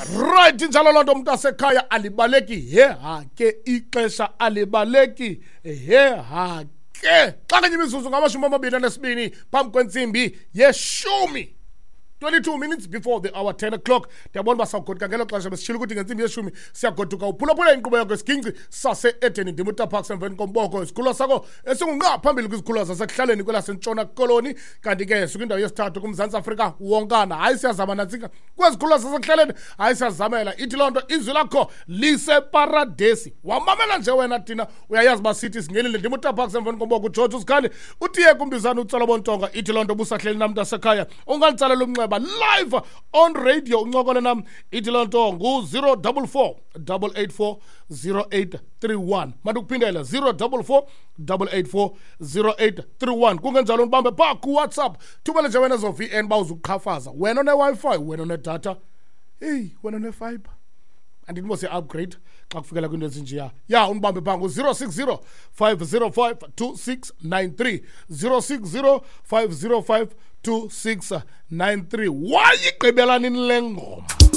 Right, injalo loo nto, umntu asekhaya. Alibaleki heha ke ixesha, alibaleki heha ke. Xa kanye imizuzu ngama-22 phambi kwentsimbi yeshumi, 22 minutes before the hour 10 o'clock. Ndiyabona uba sawugoduka ngelo xesha. Besitshile ukuthi ngentsimbi yeshumi siyagoduka. Uphulaphula inkqubo yakho Isiginci Sase-Edeni. Ndim uTaparks emveni komboko, isikhululo sakho esingunqa phambili kwizikhululo zasekuhlaleni kwelaseNtshona Koloni, kanti ke sikwindawo yesithathu kuMzantsi Afrika wonkana. Hayi, siyazama nantsika kwezikhululo zasekuhlaleni. Hayi, siyazamela. Ithi loo nto izwi lakho liseparadesi. Wamamela nje wena thina uyayazi uba sithi singenile. Ndim uTaparks emveni komboko, uGeorge uSikhali utiye kumbizana utsala bontonga. Ithi loo nto busahleli nam, mntasekhaya, unganditsalela umnxeba live on radio, uncokole nam. Ithi loo nto ngu-044 884 0831. Mandikuphindele, 044 884 0831. Kungenjalo ndibambe phaa kuWhatsApp. Thumele nje wena ezo VN uba uzuqhafaza, wena one-Wi-Fi, wena onedatha, eyi, wena one-fiber. Andithi mos upgrade xa kufikela kwinto ezinjeya. Ya, undibambe phaa ngu-060 505 2693, 060 505 2693. Wayigqibela nini le ngoma?